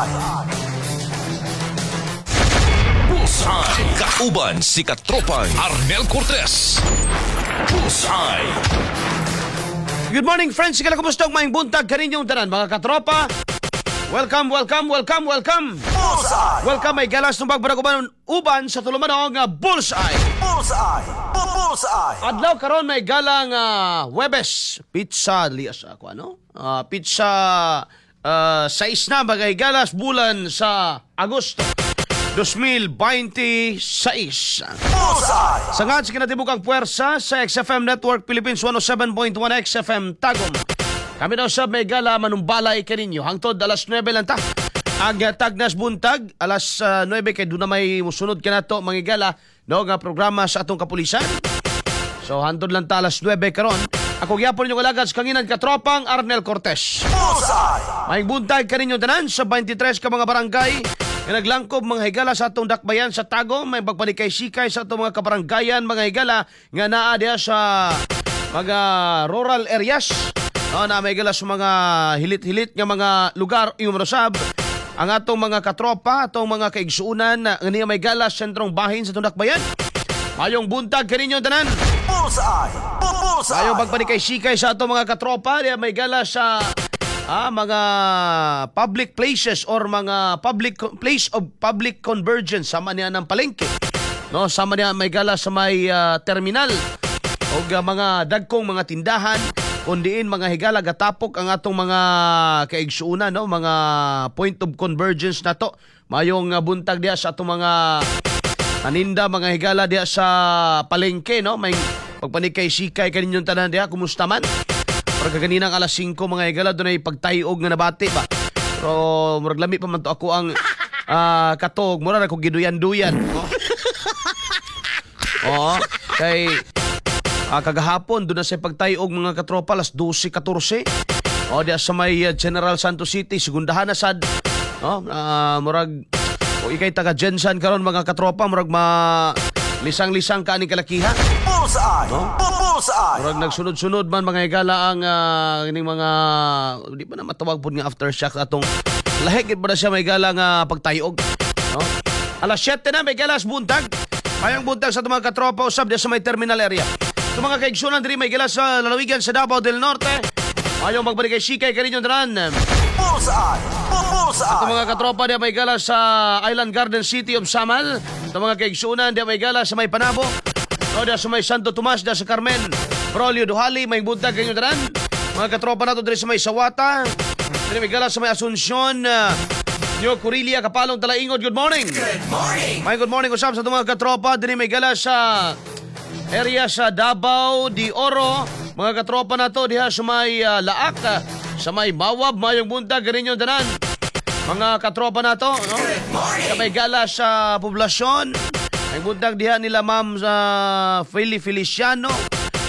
Bullseye. Bullseye. Kauban si Katropang Arnel Cortez. Bullseye. Good morning, friends. Sige lang, kumusta ang maayong buntag kaninyong tanan, mga katropa? Welcome, welcome, welcome, welcome. Bullseye. Welcome ay galas ng pagbaraguban uban sa tulumanong Bullseye. Bullseye. Bullseye. Adlaw karon may galang Webes, pizza lias ako ano? Pizza 6 na bagay galas bulan sa Agosto 2026. Bullseye. Sa nga sa kinatibukang puwersa sa XFM Network Philippines, 107.1 XFM Tagum. Kami daw sa may gala manumbalay kaninyo. Hangtod alas 9 lang ta. Ang tagnas buntag, alas 9 kay doon na may musunod ka na to, mga gala, no, nga programa sa atong kapulisan. So hantod lang ta alas 9 karon. Ako gyapon inyong alagad sa kanginan, Katropang Arnel Cortez. Bullseye. May buntag kaninyo tanan sa 23 ka mga barangay nga naglangkob, mga higala, sa atong dakbayan sa Tagum. May pagpanikay-sikay sa atong mga kabaranggayan, mga higala, nga naa diha sa mga rural areas. No, na may higala sa mga hilit-hilit nga mga lugar yung sab ang atong mga katropa, atong mga kaigsuunan nga niya may gala sa sentrong bahin sa atong dakbayan. Mayong buntag kaninyo tanan. Bullseye. Bullseye. Ayaw magpanikay-sikay sa atong mga katropa, diya may gala sa mga public places or mga public place of public convergence sama niya ng palengke. No, sama niya may gala sa may terminal o mga dagkong mga tindahan kun diin, mga higala, gatapok ang atong mga kaigsuonan, no, mga point of convergence nato. Mayong buntag diya sa atong mga paninda, mga higala, diya sa palengke, no. May pagpanikay-sikay kaninyong tanan diya. Kumusta man? Pero kaganinang alas 5, mga higala, doon ay pagtayog nga nabati ba, pero murag lami pa man to ako ang katog, mura ra ko giduyan-duyan, no? Oo, kay kagahapon doon na sa pagtayog, mga katropa, alas 12:14. O diya sa may General Santos City, segundahan na sad. No, murag o ikay taga GenSan karon, mga katropa, murag ma lisang-lisang ka ani kalakiha. Bullseye. No? Bullseye. Murag nagsunod-sunod man, mga higala, ang kining mga di ba na matawag pud nga aftershock atong lahi gid ba na siya may gala nga pagtayog, no? Alas 7 na may galas buntag. Mayong buntag sa atong mga katropa usab diya sa may terminal area. Sa mga kaigsunan diri may gala sa lalawigan sa Davao del Norte. Mayong magbaligay sikay kaninyong tanan. Bullseye. Sa Bullseye. mga katropa diya may gala sa Island Garden City of Samal. Sa mga kaigsunan diya may gala sa may Panabo. O diya sa may Santo Tomas, diya sa Carmen. Brolio Duhali, may buntag kaninyong tanan. Mga katropa nato diri sa may Sawata. Diri may gala sa may Asuncion, New Corilia, Kapalong, Talaingod. Good morning. Good morning. May good morning usab sa itong mga katropa diri may gala sa area sa Davao de Oro. Mga katropa nato diha sa may Laak, sa may Mawab, mayong buntag kaninyong tanan. Mga katropa nato, no? Sa may gala sa poblasyon. Ang buntag diha nila Ma'am sa Feli Feliciano,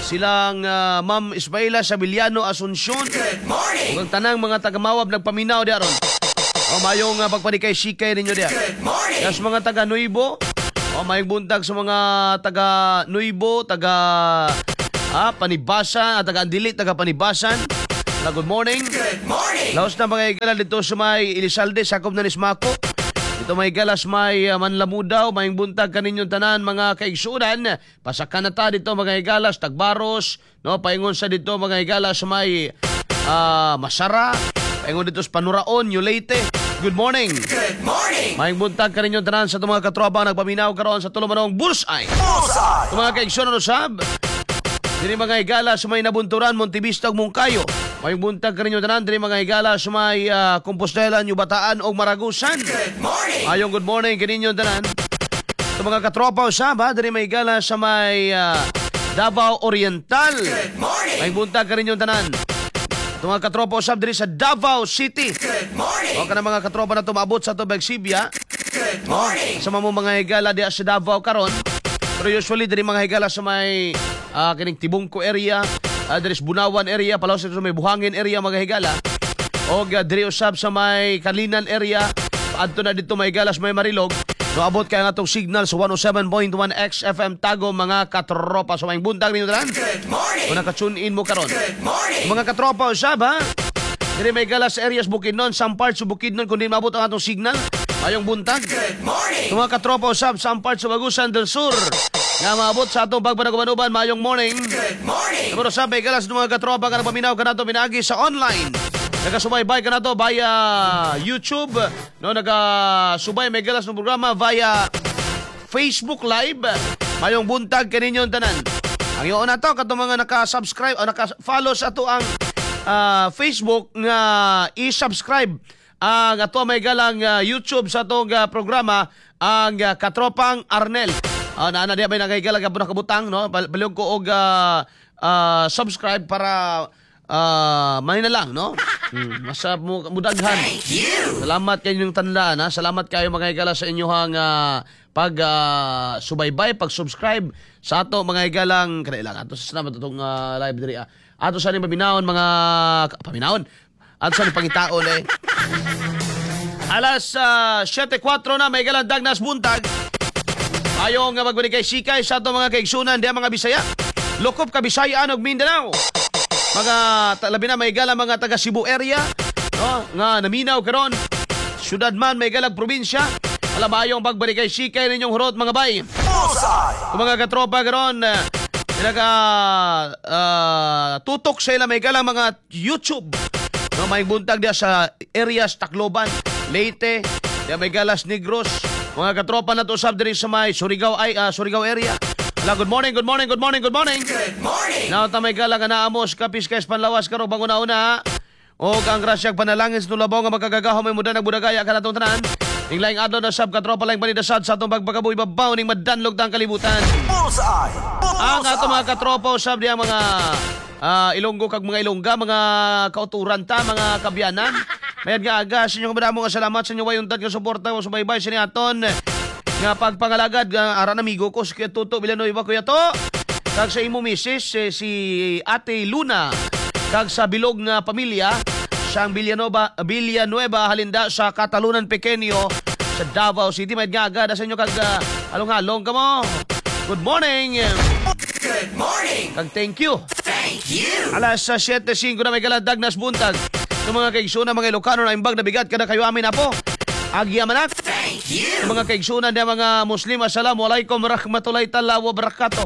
silang Ma'am Ismaila Sabiliano Asuncion. Good morning. Ug ang tanang mga taga-Mawab nagpaminaw diha ron. O mayong pagpanikay sikay ninyo diha. Good morning. Sa mga taga Nuibo, o mayong buntag sa mga taga Nuibo, taga Panibasan, at taga Andilit, taga Panibasan. Na good morning. Good morning. Laos na mga higala dito sa may Elizalde, sakop na ni Smaco. Dito may galas may Manlamudaw, may buntag kaninyong tanan, mga kaigsunan. Pasakan na ta dito, mga higalas, Tagbaros, no, paingon sa dito, mga higala, sa may Masara, paingon dito sa Panuraon, New Leyte. Good morning. Good morning. May buntag kaninyong tanan sa itong mga katropa nagpaminaw karon sa tulumanong Bullseye. Bullseye. Itong mga kaigsunan usab, diri mga higala sa may Nabunturan, Montevista ug Moncayo. May buntag kaninyo tanan diri, mga higala, sa may Compostela, New Bataan ug Maragusan. Good morning. Ayong good morning kaninyo tanan. Sa mga katropa usab ha, diri may higala sa may Davao Oriental. Good morning. May buntag kaninyo tanan. Ito mga katropa usab diri sa Davao City. Good morning. O kana mga katropa na tumabot sa Tubig Sibya. Good morning. Sa mo mga higala diha sa Davao karon. Pero usually diri, mga higala, sa may kining Tibungko area, diri sa Bunawan area, palaw sa may Buhangin area, mga higala. Og diri usab sa may Kalinan area, adto na dito may higala sa may Marilog. No, abot kay ang atong signal sa 107.1 XFM Tagum, mga katropa, sa may buntag ninyo tanan. Good morning. Kung naka-tune in mo karon. Good morning. Mga katropa usab ha. Diri may gala sa areas Bukidnon, some parts sa Bukidnon kundi maabot ang atong signal. Mayong buntag. Good morning. Sa mga katropa usab some parts sa Agusan del Sur nga maabot sa atong pagpanagubanuban, mayong morning. Good morning. Pero sa may gala sa mga katropa nga nagpaminaw kanato pinaagi sa online. Nagasubaybay kanato via YouTube, no, nagasubay may galas ng programa via Facebook Live. Mayong buntag kaninyong tanan. Ang iyon na to katong mga naka-subscribe o naka-follow sa ato ang Facebook nga i-subscribe ang ato may galang YouTube sa atong programa, ang Katropang Arnel. Na na di ba nagahigala ka nakabutang, no? Palihog ko og subscribe para may na lang, no? Mas mudaghan. Thank you. Salamat kayo inyong tandaan, ha? Salamat kayo mga higala sa inyong pag subaybay, pag-subscribe sa ato mga higalang kanila. Ato sa salamat atong live diri. Ah. Ato sa ni paminawon mga paminawon. Ato sa ni pangitaon eh. Alas 7:04 na may higalang dagnas buntag. Ayo nga magbalik kay sikay sa ato mga kaigsunan diha mga Bisaya. Lokop ka Bisaya og Mindanao. Mga labi na may gala mga taga Cebu area, no, nga naminaw karon. Syudad man may galag probinsya. Alabayong pagbalik kay sikay ninyong hurot mga bay. Bullseye. Kung mga katropa karon pinaka tutok sa ila may galang mga YouTube. No, may buntag diya sa areas Tacloban, Leyte, diya may galas Negros. Mga katropa na to usab diri sa may Surigao ay Surigao area. Hala, good morning, good morning, good morning, good morning. Good morning. Now ta may galang nga naamos kapis kay panlawas karo banguna-una. Og ang grasyag panalangin sa tulabaw nga magkagagaho may muda nagbudagaya kanatong tanan. Ning laing adlaw na sab katropa laing panidasad sa atong pagpakabuhi babaw ning madanlog tang kalibutan. Bullseye. Ang ato mga Bullseye. katropa usab diya mga Ilonggo kag mga Ilongga, mga kauturan ta, mga kabyanan. Mayad nga aga sa inyong madamo nga salamat sa inyong wayuntad nga suporta o subaybay sa aton nga pagpangalagad nga aran amigo ko si Kuya Tuto Villanueva. Kuya To, kag sa imo misis eh, si Ate Luna, kag sa bilog nga pamilya sang Villanueva, Villanueva halinda sa Catalunan Pequeño sa Davao City. Mayad nga aga sa inyo kag halong-halong kamo. Good morning. Good morning. Kag thank you. Thank you. Alas sa 7:05 na may galadag nas buntag. Sa mga kaigsunan, mga Ilocano na imbag na bigat kada kayo amin apo. Agya manak. Thank you. Sa mga kaigsunan na mga Muslim, assalamualaikum warahmatullahi taala wabarakatuh.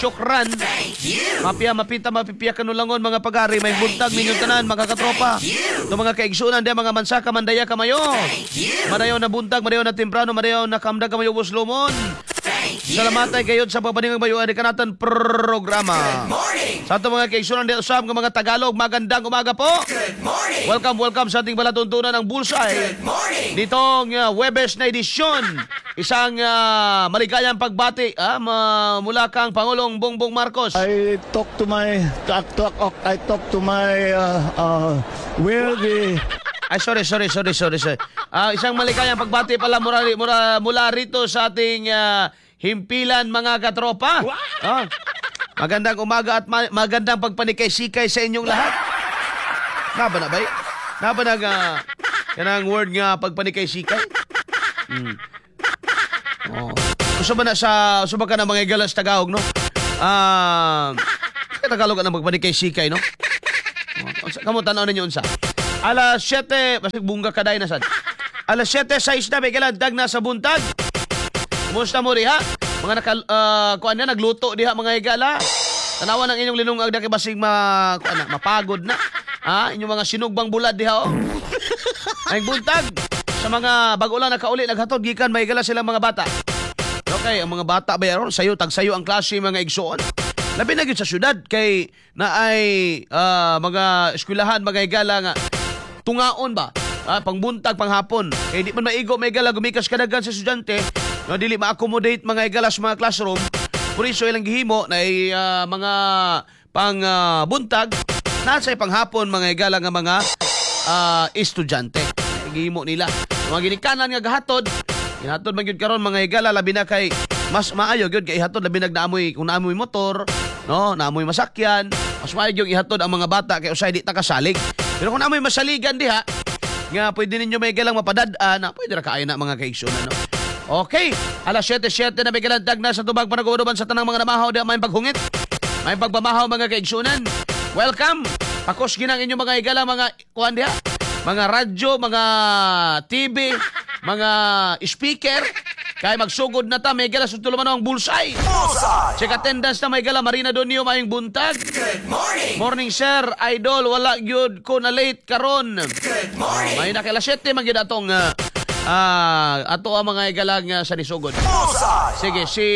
Syukran. Thank you. Mapia, mapita, mapipiya kanulangon mga pagari. May buntag ninyong tanan, mga katropa. Sa mga kaigsunan na mga mansaka, mandaya kamayo. Thank you. Madayaw na buntag, madayaw na temprano, madayaw na kamdag kamayo buslomon. Thank you. Salamat ay kayo sa pagpaningang bayuan ni kanatan programa. Morning. Sa atong mga kaigsunan di usab nga mga Tagalog, magandang umaga po. Good morning. Welcome, welcome sa ating balatuntunan ng Bullseye. Good morning. Nitong Webes na edisyon, isang maligayang pagbati mula kang Pangulong Bongbong Marcos. I talk to my where the Ay, sorry, sorry, sorry, sorry, sorry. Isang maligayang pagbati pala mula rito sa ating himpilan mga katropa. Magandang umaga at magandang pagpanikay-sikay sa inyong lahat. Naba na ba? Naba na nga kanang word nga pagpanikay-sikay? Oh. Usa ba na sa usa ba ka na mga igalas Tagalog, no? Tagalog ang pagpanikay-sikay, no? Oh, kamo tan-aw ninyo unsa. Alas 7, basig bungga kaday na sad. Alas 7:06 na may galandag na sa buntag. Kumusta mo diha? Mga naka kuan na nagluto diha mga higala. Tanawan ang inyong linungag na kay basig ma kuan na, mapagod na. Ha, inyong mga sinugbang bulad diha oh. Ay buntag sa mga bago lang nakauli naghatod gikan may higala silang mga bata. Okay, ang mga bata ba yaron sayo tagsayo ang klase mga igsoon. Labi na gyud sa syudad kay na ay mga eskwelahan mga higala nga tungaon ba? Pangbuntag panghapon. Kay di man maigo may higala gumikas kadagan sa estudyante, no, dili ma-accommodate mga higala sa mga classroom. Por iso ilang gihimo na ay, mga pang buntag nasa panghapon mga higala nga mga estudyante. Gihimo nila. Mga ginikanan nga gahatod, gihatod man gyud karon mga higala labi na kay mas maayo gyud kay ihatod labi nag naamoy kung naamoy motor, no, naamoy masakyan, mas maayo gyud ihatod ang mga bata kay usay di ta kasalig. Pero kung naamoy masaligan diha, nga pwede ninyo may galang mapadad-an, na pwede ra kaayo na mga kaigsunan, no. Okay, alas 7:07 na may galang na sa tubag panaguruban sa tanang mga namahaw diha may paghungit. May pagpamahaw mga kaigsunan. Welcome Pakos ginang inyong mga higala, mga kuan diha. Mga radyo, mga TV, mga speaker. Kay magsugod na ta, may higala sa tulumanon ang Bullseye. Bullseye. Check attendance na, may higala, Marina Donio, mayong buntag. Good morning. Morning, sir, idol, wala gyud ko na late karon. Good morning. May na kay alas 7 man gyud atong ato ang mga higalang sa nisugod. Bullseye. Sige, si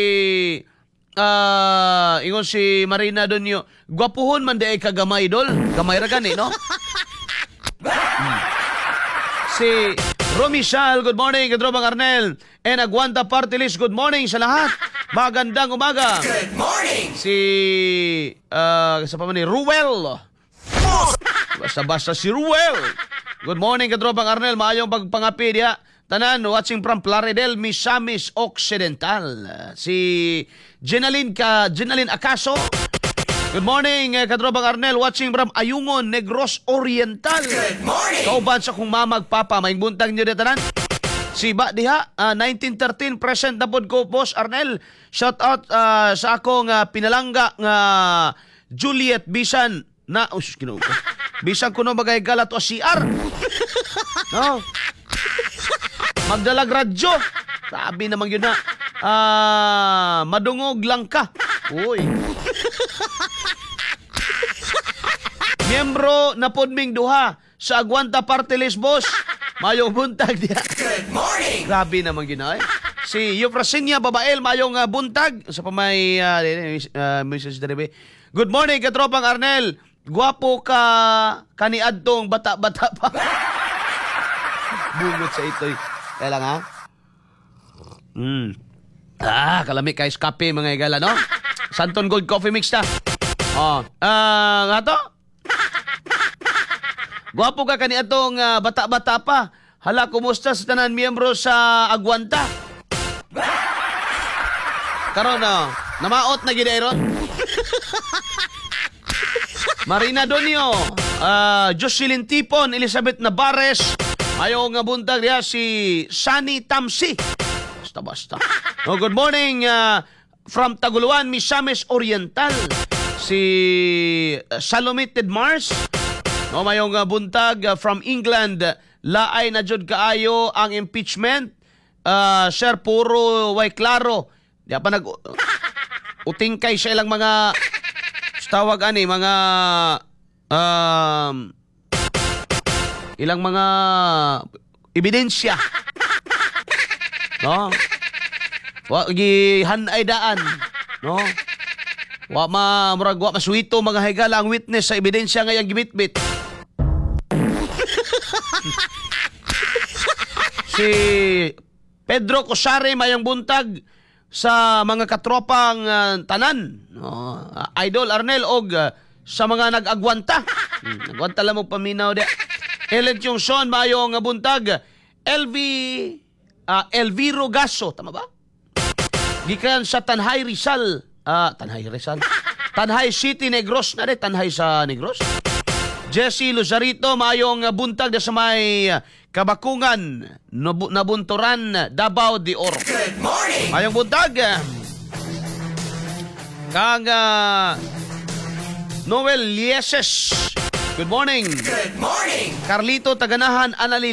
ingon si Marina Donio, gwapuhon man di ay kagamay, dol. Gamay ra gani, no? Si Romy Sal, good morning, Kadrobang Arnel. And Aguanta Party List, good morning sa lahat. Magandang umaga. Good morning. Si sa pa man ni Ruel. Basta-basta si Ruel. Good morning, Katropang Arnel. Maayong pagpangapi diha. Tanan, watching from Plaridel, Misamis Occidental. Si Jenaline Acaso. Good morning, Katropang Arnel. Watching from Ayungon, Negros Oriental. Good morning. Kauban sa kong mama ug papa, may buntag niyo diha tanan. Si ba diha, 1913 present na pod ko, Boss Arnel. Shout out sa akong pinalangga nga Juliet bisan na, oh, sus, Ginoo ko. Bisan kuno bagay galat o CR. No. Magdalag radyo. Sabi naman yun na madungog lang ka. Uy. Miyembro na pod ming duha sa Aguanta Party List, boss. Mayong buntag diha. Good morning. Grabe naman gina eh. Si Eufrasinia Babael, mayong buntag. Sa pamay, Mrs. Derebe. Good morning, katropang Arnel. Gwapo ka kaniadtong bata-bata pa. Bungot sa ito'y. Kaya lang ha? Ah, kalami kay kape mga igala, no? Santon Gold Coffee Mix ta. Oh, nga to? Gwapo ka kaniadtong bata-bata pa. Hala, kumusta sa tanan miyembro sa Aguanta? Karon no, namaot na gid ron. Marina Donio, Jocelyn Tipon, Elizabeth Navarez, ayo nga buntag diha si Sunny Tamsi. Basta basta. Oh, good morning from Taguluan, Misamis Oriental. Si Salome Ted Mars. No, mayong buntag from England. Laay na jud kaayo ang impeachment. Sir, puro way klaro. Di pa nag utingkay sa ilang mga tawag ani mga ilang mga ebidensya. No? Wa gihanay daan, no? Wa ma murag wa masuwito mga higala ang witness sa ebidensya nga iyang gibitbit. Si Pedro Cosare, mayong buntag sa mga katropang tanan. No, Idol Arnel og sa mga nag-agwanta. Agwanta lang mo paminaw di. Ellen Chungson, mayong buntag. LV Elviro Gaso, tama ba? Gikan sa Tanjay Rizal. Tanjay Rizal. Tanjay City, Negros na rin. Tanjay sa Negros. Jesse Luzarito, mayong buntag na sa may Kabakungan, Nabunturan, Davao de Oro. Good morning. Mayong buntag. Kang Noel Lieses. Good morning. Good morning. Carlito Taganahan, Anali.